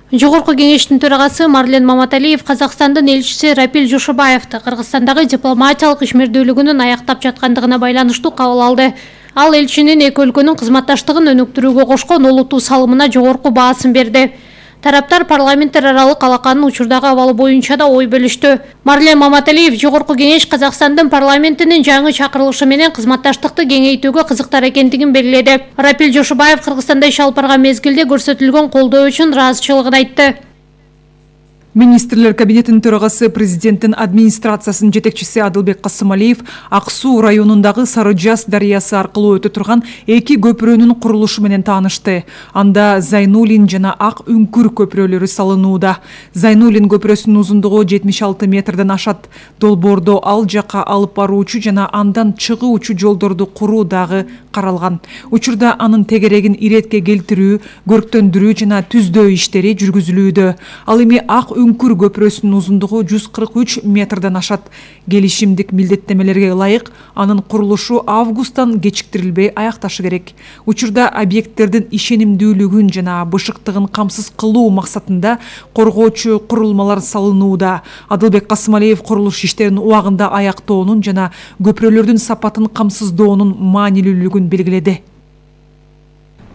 Жогорку кеңештин төрагасы Марлен Маматалиев Казакстандын элчиси Рапил Жошобаевди Кыргызстандагы дипломатиялык ишмердүүлүгүнүн аяктап жаткандыгына байланыштуу кабыл алды. Ал элчинин эки өлкөнүн кызматташтыгын өнүктүрүүгө кошкон олуттуу салымына жогорку баасын берди. Тараптар парламенттер аралык алаканын учурдагы абалы боюнча да ой бөлүштү. Марлен Маматалиев жогорку кеңеш Казакстандын парламентинин жаңы чакырылышы менен кызматташтыкты кеңейтүүгө кызыктар экендигин белгиледи. Рапил Жошобаев Кыргызстанда иш алып барган мезгилде көрсөтүлгөн колдоо үчүн ыраазычылыгын айтты. Министрлер кабинетинин төрагасы президенттин администрациясынын жетекчиси Адылбек Касымалиев Ак Суу районундагы Сары Жаз дарыясы аркылуу өтө турган эки көпүрөнүн курулушу менен таанышты. Анда Зайнулин жана Ак Үңкүр көпүрөлөрү салынууда. Зайнулин көпүрөсүнүн узундугу 76 метрден ашат. Долбоордо ал жакка алып баруучу жана андан чыгуучу жолдорду куруу дагы каралган. Учурда анын тегерегин иретке келтирүү, көрктөндүрүү жана түздөө иштери жүргүзүлүүдө. Ал эми Ак Үңкүр көпүрөсүнүн узундугу 143 метрден ашат. Келишимдик милдеттемелерге ылайык анын курулушу августтан кечиктирилбей аякташы керек. Учурда объекттердин ишенимдүүлүгүн жана бышыктыгын камсыз кылуу максатында коргоочу курулмалар салынууда. Адылбек Касымалиев курулуш иштерин убагында аяктоонун жана көпүрөлөрдүн сапатын камсыздоонун маанилүүлүгүн белгиледи.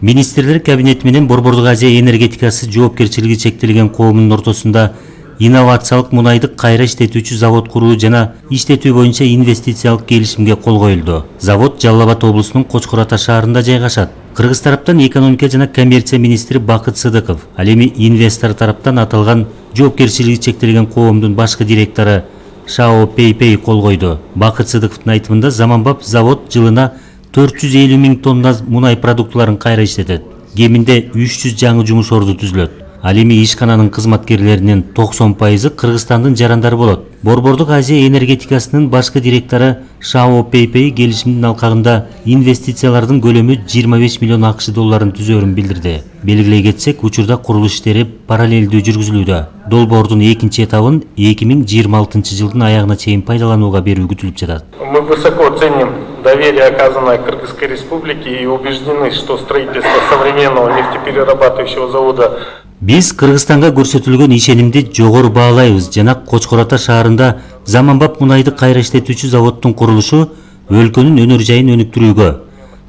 Министрлер кабинети менен Борбордук Азия энергетикасы жоопкерчилиги чектелген коомунун ортосунда инновациялык мунайды кайра иштетүүчү завод куруу жана иштетүү боюнча инвестициялык келишимге кол коюлду. Завод Жалал Абад облусунун Кочкор Ата шаарында жайгашат. Кыргыз тараптан экономика жана коммерция министри Бакыт Сыдыков, ал эми инвестор тараптан аталган жоопкерчилиги чектелген коомдун башкы директору Шао Пейпей кол койду. Бакыт Сыдыковдун айтымында заманбап завод жылына 450 000 тонна мунай продуктыларын кайра иштетет. Кеминде 300 жаңы жумуш орду түзүлөт. Ал эми ишкананын кызматкерлеринин 90% Кыргызстандын жарандары болот. Борбордук Азия энергетикасынын башкы директору Шао Пейпей келишимдин алкагында инвестициялардын көлөмү 25 миллион АКШ долларын түзөөрүн билдирди. Белгилей кетсек, учурда курулуш иштери параллелдүү жүргүзүлүүдө. Долбоордун экинчи этабын 2026 жылдын аягына чейин пайдаланууга берүү күтүлүп жатат. Мы высоко ценим доверие, оказанное Кыргызской Республике, и убеждены, что строительство современного нефтеперерабатывающего завода Биз Кыргызстанга көрсөтүлгөн ишенимди жогору баалайбыз жана Кочкор Ата шаарында заманбап мунайды кайра иштетүүчү заводдун курулушу өлкөнүн өнөр жайын өнүктүрүүгө,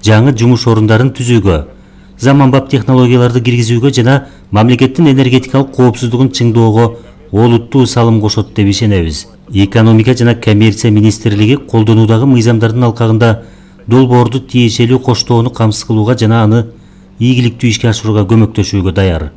жаңы жумуш орундарын түзүүгө, заманбап технологияларды киргизүүгө жана мамлекеттин энергетикалык коопсуздугун чыңдоого олуттуу салым кошот деп ишенебиз. Экономика жана коммерция министрлиги колдонуудагы мыйзамдардын алкагында долбоорду тиешелүү коштоону камсыз кылууга жана аны ийгиликтүү ишке ашырууга көмөктөшүүгө даяр.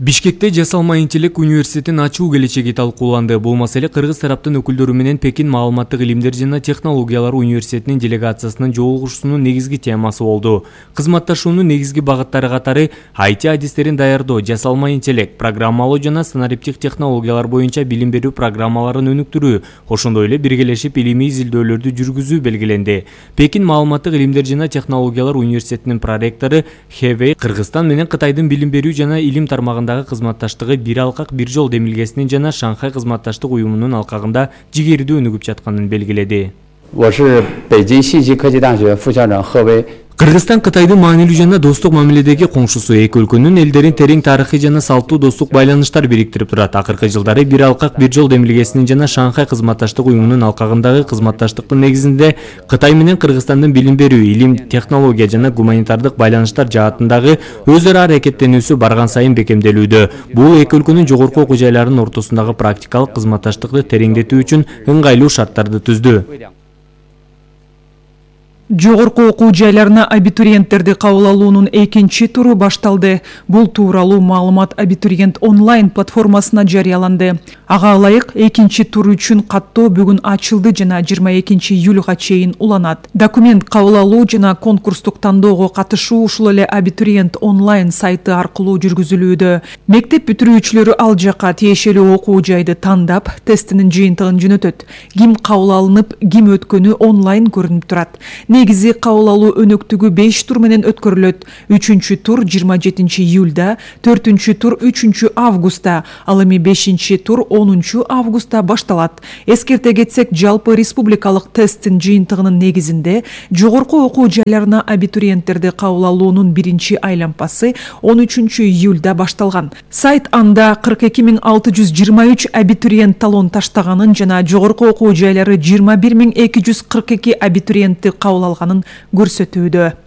Бишкекте Жасалма интеллект университетин ачуу келечеги талкууланды. Бул маселе кыргыз тараптын өкүлдөрү менен Пекин маалыматтык илимдер жана технологиялар университетинин делегациясынын жолугушуусунун негизги темасы болду. Кызматташуунун негизги багыттары катары IT адистерин даярдоо, жасалма интеллект, программалоо жана санариптик технологиялар боюнча билим берүү программаларын өнүктүрүү, ошондой эле биргелешип илимий изилдөөлөрдү жүргүзүү белгиленди. Пекин маалыматтык илимдер жана технологиялар университетинин проректору Хэвэй Кыргызстан менен Кытайдын билим берүү жана илим тармагында кызматташтыгы бир алкак бир жол демилгесинин жана Шанхай кызматташтык уюмунун алкагында жигердүү өнүгүп жатканын белгиледи. Кыргызстан Кытайдын маанилүү жана достук мамиледеги коңшусу, эки өлкөнүн элдерин терең тарыхый жана салттуу достук байланыштар бириктирип турат. Акыркы жылдары бир алкак бир жол демилгесинин жана Шанхай кызматташтык уюмунун алкагындагы кызматташтыктын негизинде Кытай менен Кыргызстандын билим берүү, илим, технология жана гуманитардык байланыштар жаатындагы өз ара аракеттенүүсү барган сайын бекемделүүдө. Бул эки өлкөнүн жогорку окуу жайларынын ортосундагы практикалык кызматташтыкты тереңдетүү үчүн ыңгайлуу шарттарды түздү. Жогорку окуу жайларына абитуриенттерди кабыл алуунун экинчи туру башталды. Бул тууралуу маалымат абитуриент онлайн платформасына жарыяланды. Ага ылайык экинчи тур үчүн каттоо бүгүн ачылды жана 22 июлга чейин уланат. Документ кабыл алуу жана конкурстук тандоого катышуу ушул эле абитуриент онлайн сайты аркылуу жүргүзүлүүдө. Мектеп бүтүрүүчүлөрү ал жакка тиешелүү окуу жайды тандап, тестинин жыйынтыгын жөнөтөт. Ким кабыл алынып, ким өткөнү онлайн көрүнүп турат. негизи кабыл алуу өнөктүгү 5 тур менен өткөрүлөт. 3-чү тур 27 июлда, 4-чү тур 3 августта, ал эми 5-чи тур 10 августта башталат. Эскерте кетсек, жалпы республикалык тесттин жыйынтыгынын негизинде жогорку окуу жайларына абитуриенттерди кабыл алуунун биринчи айлампасы 13 июлда башталган. Сайт анда 42 623 абитуриент талон таштаганын жана жогорку окуу жайлары 21 242 абитуриентти кабыл алганын көрсөтүүдө.